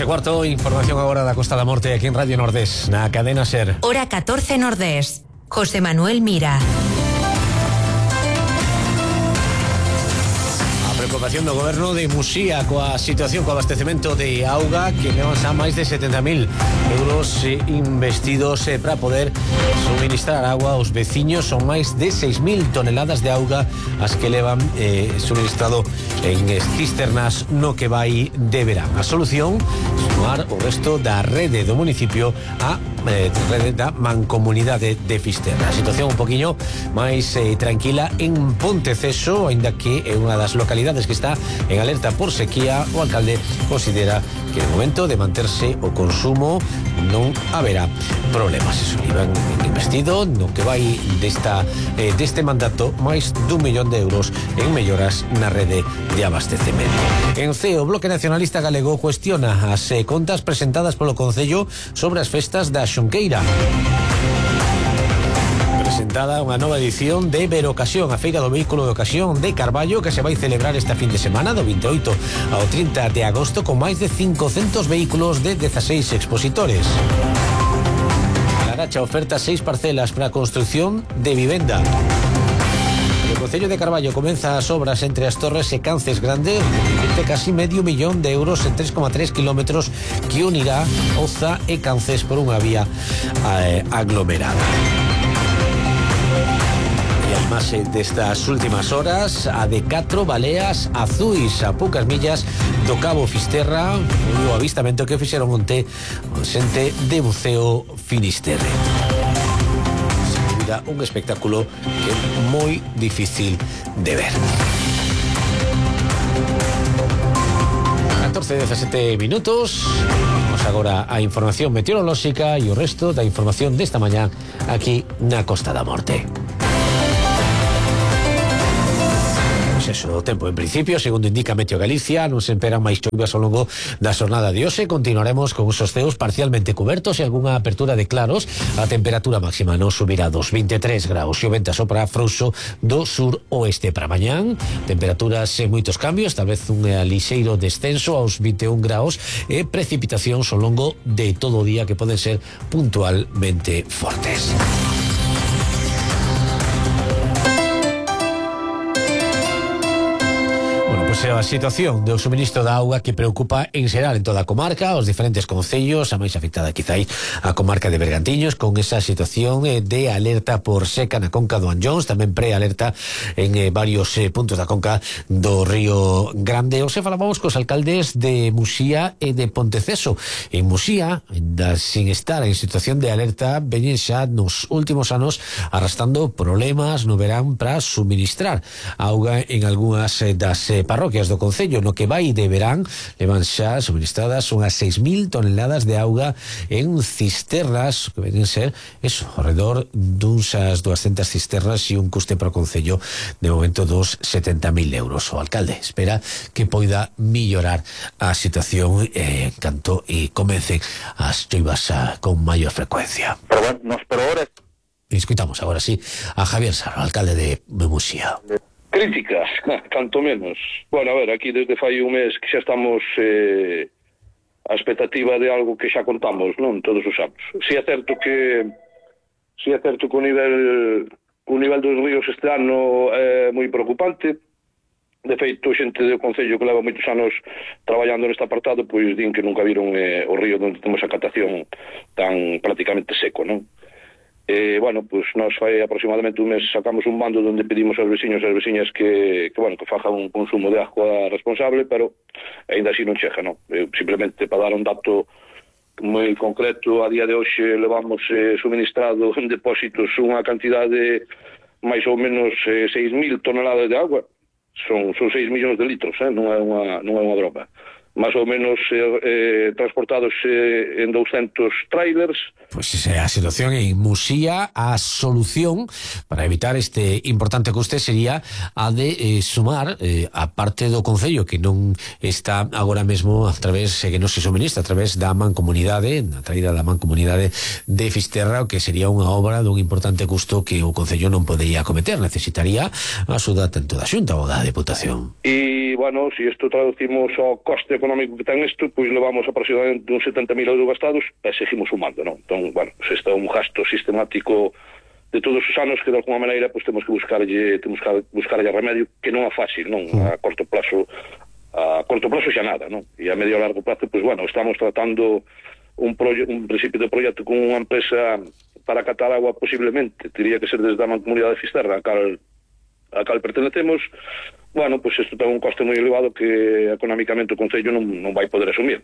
2:15, información agora da Costa da Morte aquí en Radio Nordés, na cadena SER. Hora 14 Nordés. José Manuel Mira. Preocupación do goberno de Muxía coa situación co abastecemento de auga, que levan xa máis de 70.000 euros investidos para poder suministrar agua aos veciños. Son máis de 6.000 toneladas de auga as que levan suministrado en cisternas no que vai de verán. A solución, sumar o resto da rede do municipio a rede da mancomunidade de Fisterra. A situación un poquinho máis tranquila en Ponteceso, aínda que é unha das localidades que está en alerta por sequía. O alcalde considera que no momento de manterse o consumo non haberá problemas. Eso iban investido no que vai deste mandato máis d'1 millón de euros en melloras na rede de abastecemento. En CEO, o Bloque Nacionalista Galego cuestiona as contas presentadas polo Concello sobre as festas da Xunqueira. Presentada unha nova edición de Verocasión, a feira do vehículo de ocasión de Carballo, que se vai celebrar esta fin de semana do 28 ao 30 de agosto con máis de 500 vehículos de 16 expositores. A Laracha oferta 6 parcelas para a construción de vivenda. O Concello de Carballo comeza as obras entre as Torres e Cances Grande, de casi medio millón de euros en 3,3 kilómetros que unirá Oza e Cances por unha vía aglomerada. E además destas últimas horas, a de 4 baleas azuis a poucas millas do Cabo Fisterra, o avistamento que fixeron onte o xente de buceo Finisterre. Un espectáculo que é moi difícil de ver. 14:17. Vamos agora á información meteorolóxica e o resto da información desta mañá aquí na Costa da Morte. Eso, o tempo en principio, segundo indica Meteo Galicia, non se esperan máis choivas ao longo da xornada de hoxe. Continuaremos con os ceos parcialmente cubertos e algunha apertura de claros. A temperatura máxima non subirá dos 23 graus e o vento sopra frouxo do sur oeste. Para mañán, temperaturas sen moitos cambios, tal vez un lixeiro descenso aos 21 graus e precipitacións ao longo de todo o día que poden ser puntualmente fortes. Pois é a situación do suministro da auga que preocupa en xeral en toda a comarca, os diferentes concellos, a máis afectada quizáis a comarca de Bergantiños, con esa situación de alerta por seca na conca do Anllóns, tamén prealerta en varios puntos da conca do Río Grande. Hoxe falábamos cos alcaldes de Muxía e de Ponteceso. En Muxía, sin estar en situación de alerta, veñen xa nos últimos anos arrastrando problemas no verán para suministrar auga en algunhas das parroquias do concello. No que vai de verán levan xa suministradas unhas 6.000 toneladas de auga en cisternas, que venen ser eso, alrededor dunsas 200 cisternas e un custe para o concello de momento dos 70.000 euros. O alcalde espera que poida millorar a situación en canto e comecen as choivas con maior frecuencia. Pero bueno, nos por ahora escuitamos agora sí a Javier Sarro, alcalde de Muxía. Críticas, tanto menos. Bueno, a ver, aquí desde fai un mes que xa estamos a expectativa de algo que xa contamos, non? Todos os anos. Si é certo que o nivel dos ríos este ano é moi preocupante. De feito, xente do Concello que leva moitos anos traballando neste apartado, pois din que nunca viron o río onde temos a catación tan prácticamente seco, non? Bueno, pues nos fai aproximadamente un mes sacamos un mando onde pedimos aos veciños e as veciñas que fajan un consumo de agua responsable, pero ainda así non chega, non? Simplemente para dar un dato moi concreto, a día de hoxe levamos suministrado en depósitos unha cantidade máis ou menos 6.000 toneladas de agua. Son 6 millóns de litros, non é unha broma. Más ou menos transportados en 200 trailers, Pues esa é a situación en Muxía. A solución para evitar este importante custe sería a de sumar a parte do Concello que non está agora mesmo a través, que non se suministra a través da mancomunidade, na traída da mancomunidade de Fisterra, o que sería unha obra dun importante custo que o Concello non podería acometer, necesitaría a axuda tanto da Xunta ou da Deputación. E, bueno, se isto traducimos ao coste económico que ten isto, pois levamos aproximadamente uns 70.000 euros gastados e seguimos sumando, non? Entón, bueno, se está un gasto sistemático de todos os anos que de alguma maneira pois temos que buscarlle remedio, que non é fácil, non? A corto plazo xa nada, non? E a medio e largo plazo, pois bueno, estamos tratando un principio de proxecto con unha empresa para catar agua, posiblemente teria que ser desde a Mancomunidade de Fisterra a cal pertenecemos. Bueno, pois isto ten un coste moi elevado que económicamente o Concello non vai poder asumir.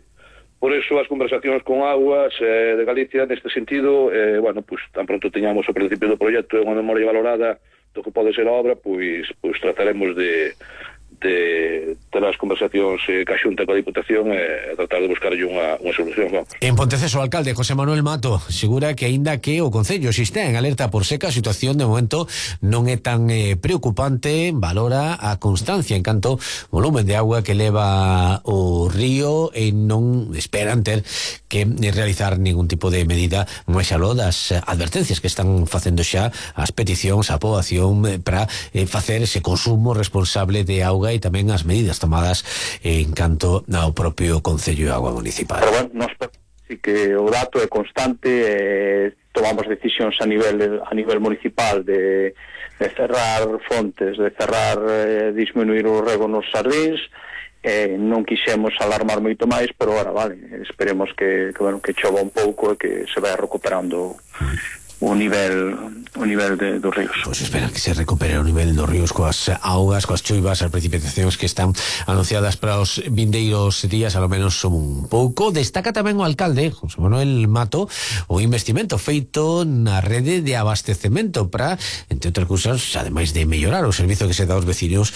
Por eso as conversacións con Augas de Galicia neste sentido, bueno, pois tan pronto teñamos o principio do proxecto e unha memoria valorada do que pode ser a obra, pois trataremos de ter as conversacións ca Xunta e coa Diputación e tratar de buscarlle unha solución. Vamos. En Ponteceso, o alcalde José Manuel Mato asegura que aínda que o Concello existe en alerta por seca, a situación de momento non é tan preocupante, valora a constancia en canto volumen de agua que leva o río e non esperan ter que realizar ningún tipo de medida máis aló das advertencias que están facendo xa as peticións, a poboación para facer ese consumo responsable de auga e tamén as medidas tomadas en canto ao propio Concello de Agua Municipal. Pero bueno, nós sí que o dato é constante, tomamos decisións a nivel municipal de cerrar fontes, de cerrar, disminuir o rego nos sardíns, non quixemos alarmar moito máis, pero agora, vale, esperemos que chova un pouco e que se vai recuperando o nivel dos ríos. Pois esperan que se recupere o nivel dos ríos coas augas, coas choivas, as precipitacións que están anunciadas para os vindeiros días, ao menos son un pouco. Destaca tamén o alcalde, José Manuel Mato, o investimento feito na rede de abastecemento para, entre outras cousas, ademais de mellorar o servizo que se dá aos vecinos,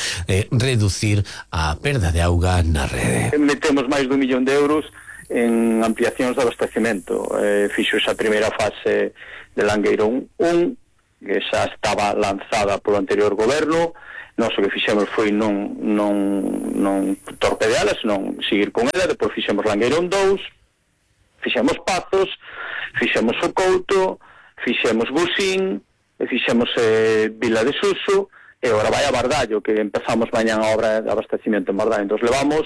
reducir a perda de auga na rede. Metemos máis de 1 millón de euros en ampliacións de abastecemento. Fixo esa primeira fase de Langueirón 1, que xa estaba lanzada polo anterior goberno. Nós o que fixemos foi non torpedeala, senón seguir con ela. Depois fixemos Langueirón 2, fixemos Pazos, fixemos O Couto, fixemos Busín, e fixemos Vila de Suso, e agora vai a Bardallo, que empezamos mañán a obra de abastecimiento en Bardallo. Entón levamos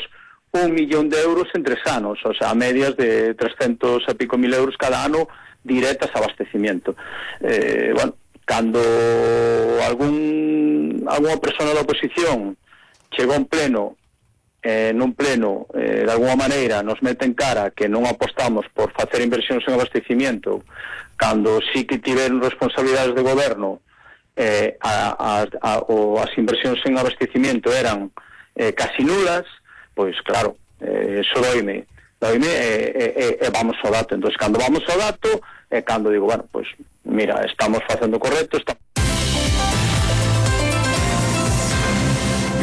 1 millón de euros en 3 anos, o sea, a medias de 300 e pico mil euros cada ano directas a abastecimiento. Bueno, cando alguna persona da oposición chegou a un pleno, nun pleno, de alguma maneira nos mete en cara que non apostamos por facer inversións en abastecimiento, cando sí que tiveron responsabilidades de goberno, as inversións en abastecimiento eran casi nulas, pois claro, eso doime e vamos ao dato. Entón, cando vamos ao dato é cando digo, bueno, pois mira, estamos facendo correcto,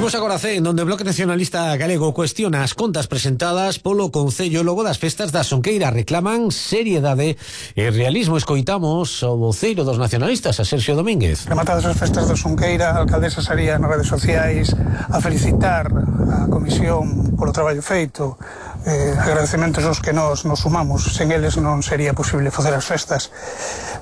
Imos agora a CEN, onde o Bloque Nacionalista Galego cuestiona as contas presentadas polo Concello logo das festas da Sonqueira. Reclaman seriedade e realismo. Escoitamos o voceiro dos nacionalistas, a Sergio Domínguez. Rematadas as festas da Sonqueira, a alcaldesa saría nas redes sociais a felicitar a comisión polo traballo feito, agradecementos aos que nos sumamos. Sen eles non sería posible facer as festas,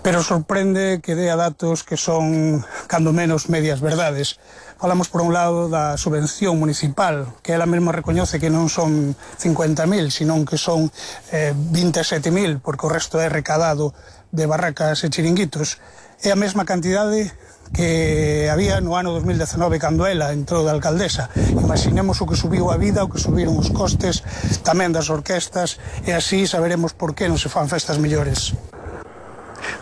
pero sorprende que dea datos que son cando menos medias verdades. Falamos por un lado da subvención municipal, que ela mesma recoñece que non son 50.000, senón que son 27.000, porque o resto é recadado de barracas e chiringuitos. É a mesma cantidade que había no ano 2019 cando ela entrou de alcaldesa. Imaginemos o que subiu a vida, o que subiron os costes tamén das orquestas, e así saberemos por que non se fan festas mellores.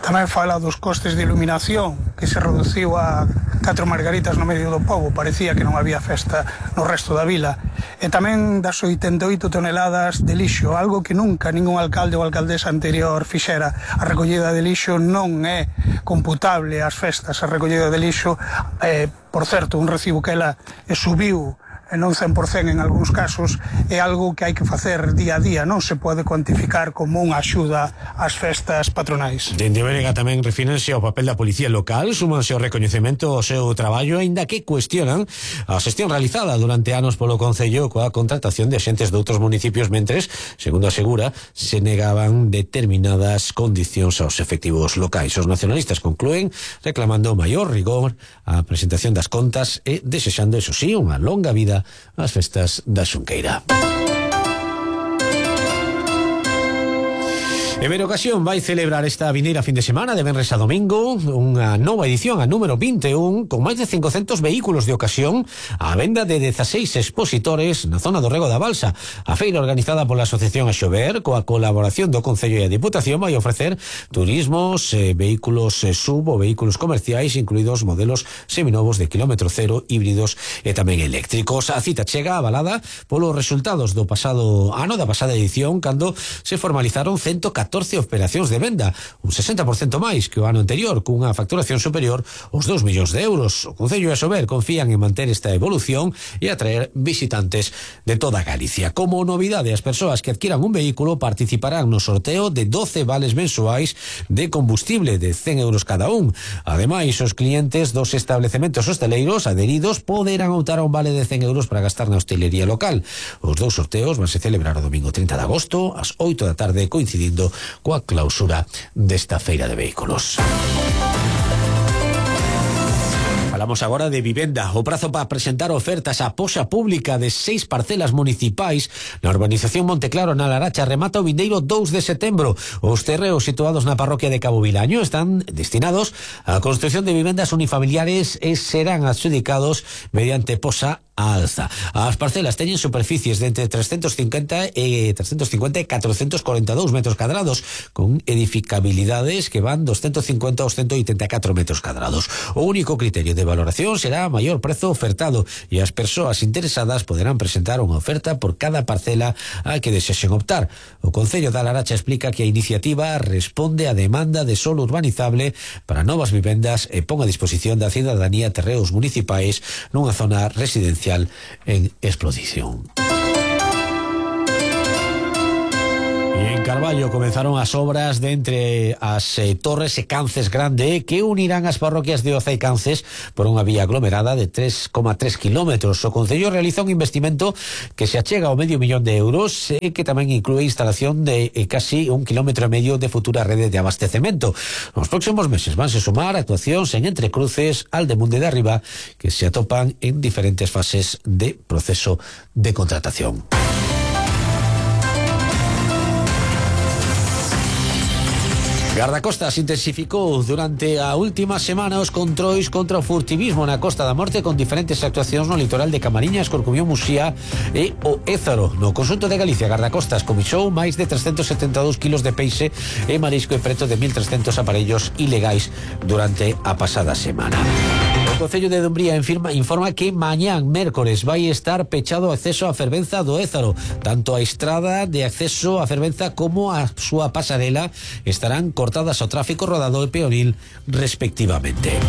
Tamén fala dos costes de iluminación, que se reduciu a 4 margaritas no medio do pobo, parecía que non había festa no resto da vila. E tamén das 88 toneladas de lixo, algo que nunca ningún alcalde ou alcaldesa anterior fixera. A recollida de lixo non é computable ás festas, a recollida de lixo, por certo, un recibo que ela subiu non 100% en algúns casos, é algo que hai que facer día a día, non se pode cuantificar como unha axuda ás festas patronais. Dende Berega tamén refírense ao papel da Policía Local, súmanse ao recoñecemento ao seu traballo, aínda que cuestionan a xestión realizada durante anos polo Concello coa contratación de axentes de outros municipios, mentres, segundo asegura, se negaban determinadas condicións aos efectivos locais. Os nacionalistas conclúen reclamando maior rigor á presentación das contas e desexando, eso sí, unha longa vida ás festas da Xunqueira. Iberocasión vai celebrar esta vindeira fin de semana de venres a domingo unha nova edición, a número 21, con máis de 500 vehículos de ocasión á venda de 16 expositores na zona do Rego da Balsa. A feira organizada pola Asociación Axover, coa colaboración do Concello e a Diputación, vai ofrecer turismos, vehículos sub ou vehículos comerciais, incluídos modelos seminovos de kilómetro cero, híbridos e tamén eléctricos. A cita chega avalada polos resultados do pasado ano, da pasada edición, cando se formalizaron 114 operacións de venda, un 60% máis que o ano anterior, cunha facturación superior aos 2 millóns de euros. O Concello e a Sober confían en manter esta evolución e atraer visitantes de toda Galicia. Como novidade, as persoas que adquiran un vehículo participarán no sorteo de 12 vales mensuais de combustible de 100 euros cada un. Ademais, os clientes dos establecementos hosteleiros adheridos poderán optar a un vale de 100 euros para gastar na hostelería local. Os dous sorteos vanse celebrar o domingo 30 de agosto ás 8 da tarde, coincidindo coa clausura desta feira de vehículos. Falamos agora de vivenda. O prazo para presentar ofertas á poxa pública de 6 parcelas municipais na urbanización Monteclaro, na Laracha, remata o vindeiro 2 de setembro. Os terreos situados na parroquia de Cabo Vilaño están destinados á construción de vivendas unifamiliares e serán adxudicados mediante poxa a alza. As parcelas teñen superficies de entre 350 e 442 metros cadrados, con edificabilidades que van dos 150 aos 184 metros cadrados. O único criterio de valoración será maior prezo ofertado e as persoas interesadas poderán presentar unha oferta por cada parcela a que desexen optar. O Concello da Laracha explica que a iniciativa responde á demanda de solo urbanizable para novas vivendas e pon a disposición da cidadanía terreos municipais nunha zona residencial en exposición. E en Carballo comenzaron as obras de entre as Torres e Cances Grande, que unirán as parroquias de Oza e Cances por unha vía aglomerada de 3,3 kilómetros. O Concello realiza un investimento que se achega ao medio millón de euros e que tamén inclúe instalación de casi 1,5 kilómetros de futura rede de abastecemento. Nos próximos meses vanse sumar actuacións en Entrecruces, Aldemunde de Arriba, que se atopan en diferentes fases de proceso de contratación. Gardacostas intensificou durante a última semana os controis contra o furtivismo na Costa da Morte, con diferentes actuacións no litoral de Camariñas, Corcubión, Muxía e o Ézaro. No conxunto de Galicia, Gardacostas comisou máis de 372 kilos de peixe e marisco e preto de 1.300 aparellos ilegais durante a pasada semana. O Concello de Dumbría informa que mañán, mércores, vai estar pechado o acceso á fervenza do Ézaro. Tanto a estrada de acceso á fervenza como a súa pasarela estarán cortadas ao tráfico rodado e peonil respectivamente.